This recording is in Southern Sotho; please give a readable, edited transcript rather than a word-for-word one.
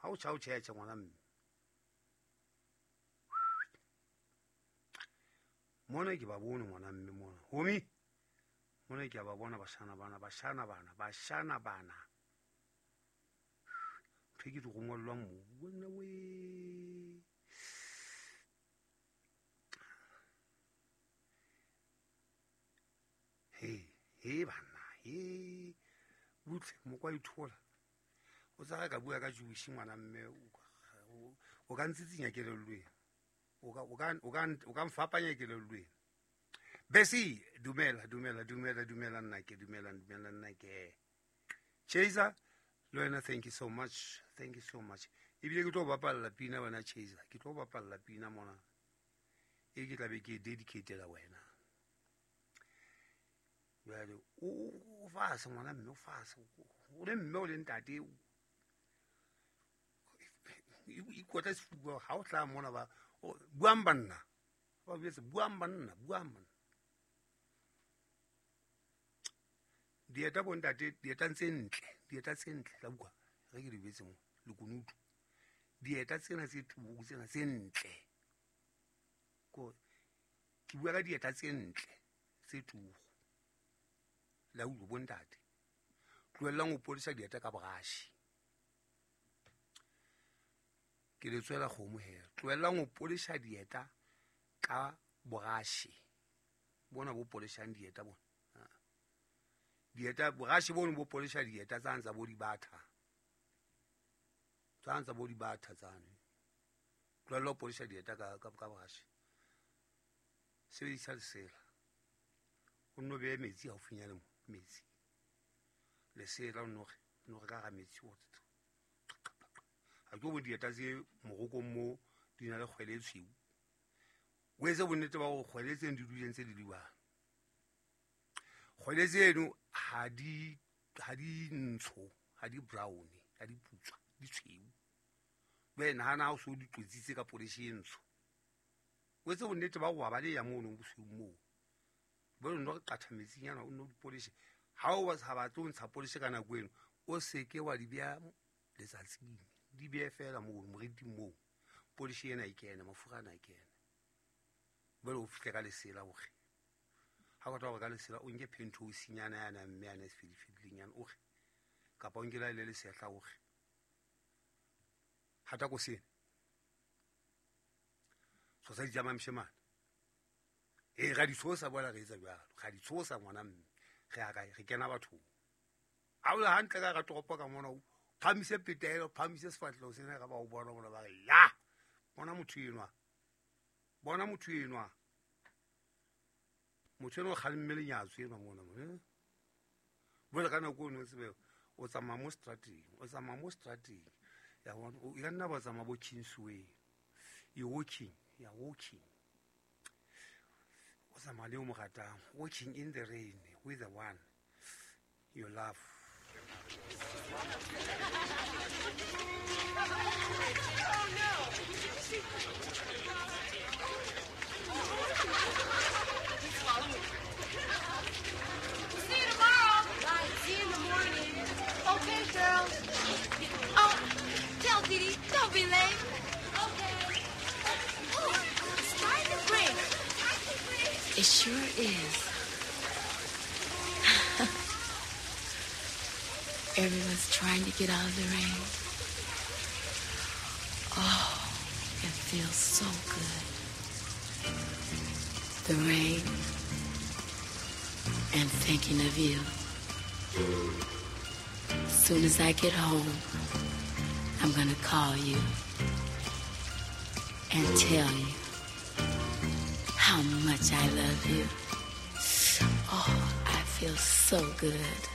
Ha o tjha o tjhetjhe ngwana mme. Mona ke ba bone ngwana mme mona. Homi. Mona ke ba bona bashana bana, bashana bana, bashana bana. Ntho ke di rongwellwang mo. Wena we. He, he bana, he. Butle mokwa ithola. O tsa ka bua ka Jewish ngwana mme o ka ntsitsinya kelellweng. O ka mfapanya kelellweng. Besi, dumela, dumela, dumela, dumela nna ke, dumela, dumela nna ke. Chaser, le wena thank you so much. Thank you so much. Ebile ke tlo bapalla pina wena Chaser. Ke tlo bapalla pina mona. E ke tla be ke dedicatela wena. Jwale o fase ngwana mme o fase. O le mme o le ntate. Ikotla sefuba ha o tla mona ba buang banna. Ba betse buang banna, buang banna. Dieta bontate, dieta tse ntle, dieta tse ntle la bua. Re ke di betse mo lekunutu. Dieta tsena tse tubu tsena tse ntle. Ko ke bua ka dieta tse ntle tse tubu. La utlwa bontate. Tlohellang ho podisa dieta ka borashi. Ke le tswela kgomo he. Tlohellang ho podisa dieta ka borashi. Bona bo podisang dieta bona. Dieta borashi bono bo podisa dieta tsa ntsa bo di batha. Tsa ntsa bo di batha tsane. Tlohella ho podisa dieta ka ka borashi. Sebedisa lesela. O nno behe metsi haufinyane mo, metsi. Lesela o nno re ka hara metsi o. Ha ke bo dieta tse morokong mo di na le kgwele e tshweu. O etse bonnete ba hore kgwele tseno di dule ntse di le jwang. Kgwele tseno ha di ntsho, ha di brown, ha di putswa, di tshweu. Jwale nahana ha o so di tlotsitse ka polish e ntsho. O etse bonnete ba hore wa baleha mono bosweu moo. Jwale o nno re qatha metsinyana o nno di polish. Ha o sa batle ho ntsha polish ka nako eno, o seke wa di beha letsatsing. Di behe fela moo moriting moo. Polish ena e kene, mafura ana e kene. Jwale o fihle ka lesela hore ha o tla hore ka lesela o nke penthouse-nyana yana mme yana e sefedifedileng o re kapa o nke la le lesehla o re hata ko sena tshosa ditjama moshemane. E ra di tshosa bola re etsa jwalo, ra di tshosa ngwana mme re ya kae, re kena bathong. Ha o le hantle ka toropo ka mona o phamise petelo, phamise sefahleho sena ka ba o bona bona ba re ya bona motho enwa, bona motho enwa. Motho enwa o kgalemme lenyatso enwa mona mona. Jwale ka nako eno o tsebe o tsamaya mo strateng, o tsamaya mo strateng. Ya bona, o ka nna ba tsamaya bo Kingsway. You walking, you are walking. O tsamaya le o mo ratang, walking in the rain with the one you love. Oh no! See you tomorrow. Bye. See you in the morning. Okay, girls. Oh, tell Dee Dee, don't be late. Okay. Oh, it's time to break. Time to break. It sure is. Everyone's trying to get out of the rain. Oh, it feels so good. The rain and thinking of you. Soon as I get home, I'm gonna call you and tell you how much I love you. Oh, I feel so good.